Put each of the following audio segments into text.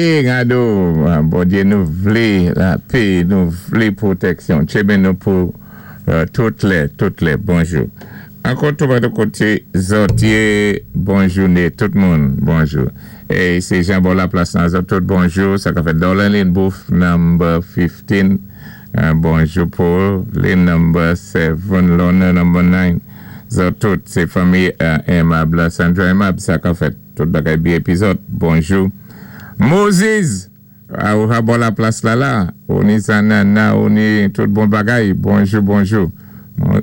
Praying, ado, Bondyé, nou vlé lapé, nou vlé pwotèksyon. Tchébé nou pou tout lè, tout lè. Bonjou. Ankò tou koté zòt yé, bon jouné, tout moun, bonjou. É sé Jean bò Laplas nan zòt tout bonjou, sa ka fèt Dorlin Booth number 15. Bonjou Paul, lane number 7, Lorna number 9. Zòt tout, sé fanmi Aimable, Sandra Aimable, sa ka fèt tout bagay byen épi zòt. Bonjou. Moses, ou bò Laplas la la, ou ni zanana, ou ni tout bon bagay. Bonjou, bonjou.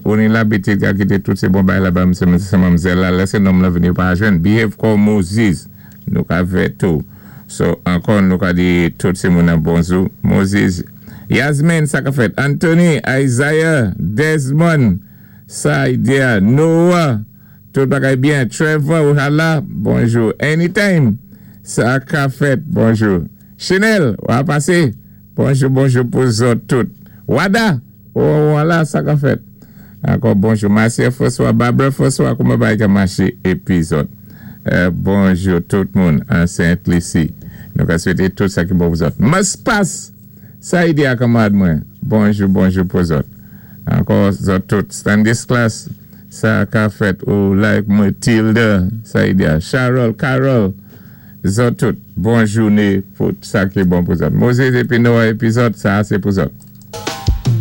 Ou ni labitid ka kité tout sé bon bagay la ba sé manmzèl la, lè sé nonm la vini pa jwenn. Behave kòm Moses. Nou ka fè tou. So, ankò nou ka di tout sé moun an bonjou. Moses, Yasmin, sa ka fèt. Anthony, Isaiah, Desmond, Saidia, Noah, tout bagay byen. Trevor, ou la, bonjou. Anytime, sa ka fèt, bonjou. Chanel, ou a pasé. Bonjou, bonjou pou zòt tout. Wada, ou la, sa ka fèt. Ankò bonjou. Marcia François, Barbara François, kouman bagay ka maché épi zòt. Bonjou tout moun an Saint-Lucie. Nou ka swété tout sa ki bon pou zòt. Mas pas, sa i di a kanmarad mwen. Bonjou, bonjou pou zòt. Ankò zòt tout. Stanislas, sa ka fèt ou like Matilda, sa i di a. Charol, Carol, zòt tout. Bon jouné pou sa ki bon pou zòt. Moses épi Noah épi zòt, sa sé pou zòt.